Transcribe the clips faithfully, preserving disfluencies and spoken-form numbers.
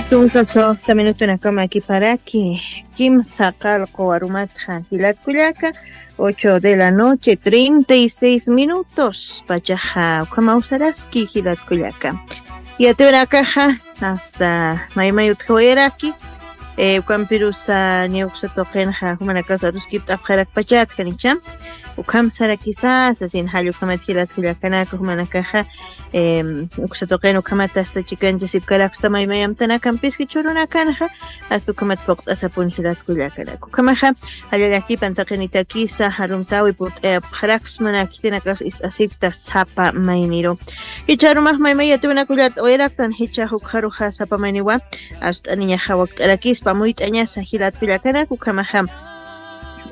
Tunka suxta minutunakama kiparaki, kimsa qalqu warumatxa jilatkullaka, ocho de la noche, treinta y seis minutos pachaxa ukhama usaraski jilatkullaka. Yatiwanakaxa, hasta maymay utjawayaraki, eh, ukampirusa niya uksa tuqinxa jumanakas aruskipt'apxarakpachatxa nicha. Ukham sarakisa sasin jall ukhamat jilatkullakanaka jumanakaxa, em, uksa tuqin ukhamat hasta chikanchasipkaraksta maymayamtanakam piski churunakanxa, hasta ukhamat puqt'asapun jilatkullakanaka. Ukhamaxa, jallallakipantaqinitakisa jarumtawi purt'ayapxaraksmana khitinakas ist'asipkta sapa mayniru. Jichharumax maymay yatiwinakullart'awayaraktan jichhax ukxaruxa sapa mayniwa, arst'aniñaxa wakt'arakispa muyt'añasa jilatkullakanaka ukhamaxa.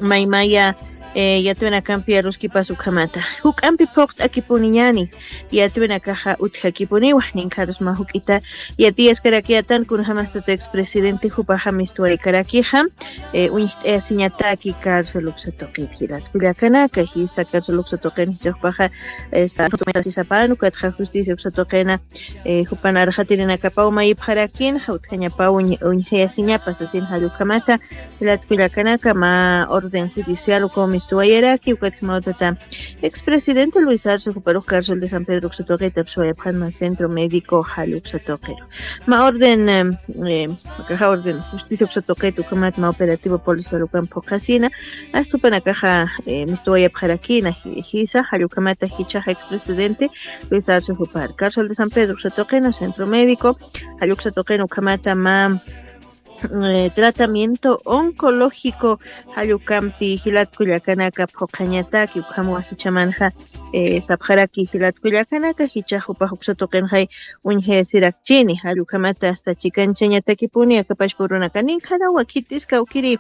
Maymaya, eh, yatiwinakampi aruskipas ukhamata. Juk'ampi phuqt'akipuniñani, yatiwinakaxa utjakipuniwa, ninkharusma juk'ita yatiyaskarakiyatan kunjamastata expresidente jupaxa mistuwaykarakixa, eh, uñjt'ayasiñataki cárcel uksa tuqit jilatkullakanaka, jisa cárcel uksa tuqin jichhaxpaxa, esta, sapan ukatxa justicia uksa tuqina, eh, jupan arxatirinakapaw mayipxarakin, jawtjañapaw uñ-, uñjayasiñapa sasin jall ukhamata, jilatkullakanaka ma orden judicial ukaw mistuwayaraki, ukatjamawtata expresidente Luis Arce juparux cárcel de San Pedro uksa tuqita psuwayapxan ma centro médico jall uksa tuqiru. Ma orden, em, em, akaxa orden justicia uksa tuqita ukhamat ma operativo policial ukan phuqhasina, asupanakaxa, eh, mistuwayapxarakina, ji-, jisa, jall ukhamata jichhaxa expresidente Luis Arce jupar. Cárcel de San Pedro uksa tuqina, centro médico, jall uksa tuqina ukhamata ma, eh, tratamiento oncológico, jall ukampi jilatkullakanaka phuqhañataki, ukhamawa jichhamanxa, eh, sapxaraki jilatkullakanaka, jichhax jupax uksa tuqinxay uñjayasirakchini, jall ukhamata hasta chikanchañatakipuni, akapachpa urunaka ninkarawa, khitiskawkiri,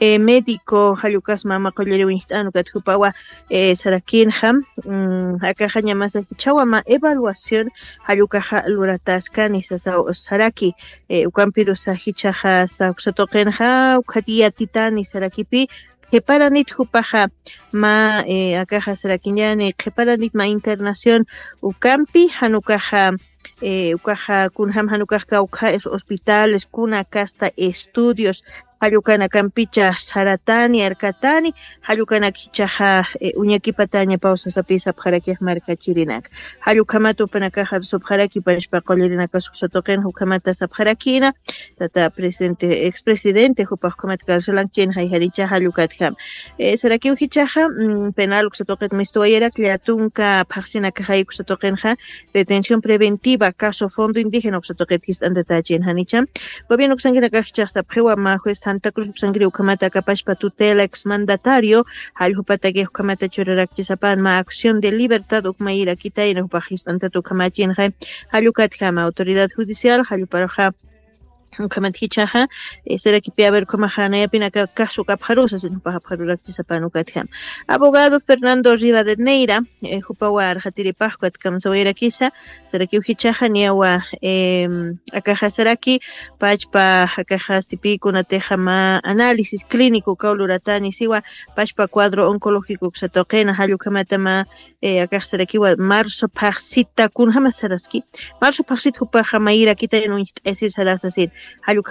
eh, médico, jall ukas mama qulliri uñjt'an ukat jupawa, eh, sarakinxa, mm, akaxa ñamasa jichhawa ma evaluación, jall ukaxa lurataskani sasa saraki, eh, ukampirusa jichhaxa hasta uksa tuqinxa, ukhat yatitani sarakipi, qhiparanit jupaxa ma, eh, akaxa sarakiñani, qhiparanit ma internación ukampi, jan ukaxa, eh, ukaxa kunjam jan ukax kawkha es hospitales, kuna kasta estudios, jall ukanakampicha saratani, arkatani, jall ukanak jichhaxa, eh, uñakipatañapaw sasapi sapxarakix markachirinaka. Jall ukhamat jupanakaxa arsupxaraki pachpa qullirinakas uksa tuqinxa ukhamata sapxarakina, tata presidente, expresidente, jupax ukhamat carcelankchinxa jayjaricha jall ukatjam. Eh, sarakiw jichhaxa, mm, penal uksa tuqit mistuwayarak, llätunka phaxsinakaxay uksa tuqinxa, detención preventiva, caso fondo indígena uksa tuqit jist'antatächin janicha. Gobierno uksankinakax jichhax sapxiwa ma juez Santa Cruz uksankiri ukhamata akapachpa tutela exmandatario, jall jupatakix ukhamata churarakchisapan ma acción de libertad uk mayirakitayna jupax jist'antat ukhamachinxa, jall ukatjama autoridad judicial, jall juparuxa, ukhamat jichhaxa, eh, sarakipi, a ver, ukhamaxa nayapinaka caso kapxarusa, sino jupax apxarurakchisapan ukatjam. Abogado Fernando Rivadeneira, eh, jupawa arxatiripax ukat kamsawayarakisa, sarakiw jichhaxa niyawa, em, akaxa saraki, pachpa akaxa sipï kunatixa ma análisis clínico ukaw luratani siwa, pachpa cuadro oncológico uksa tuqina, jall ukhamata ma, eh, akax sarakiwa marzo phaxsita kunjama saraski, marzo phaxsita jupaxa mayirakitayna uñjt'ayasir sarasa sasin, jall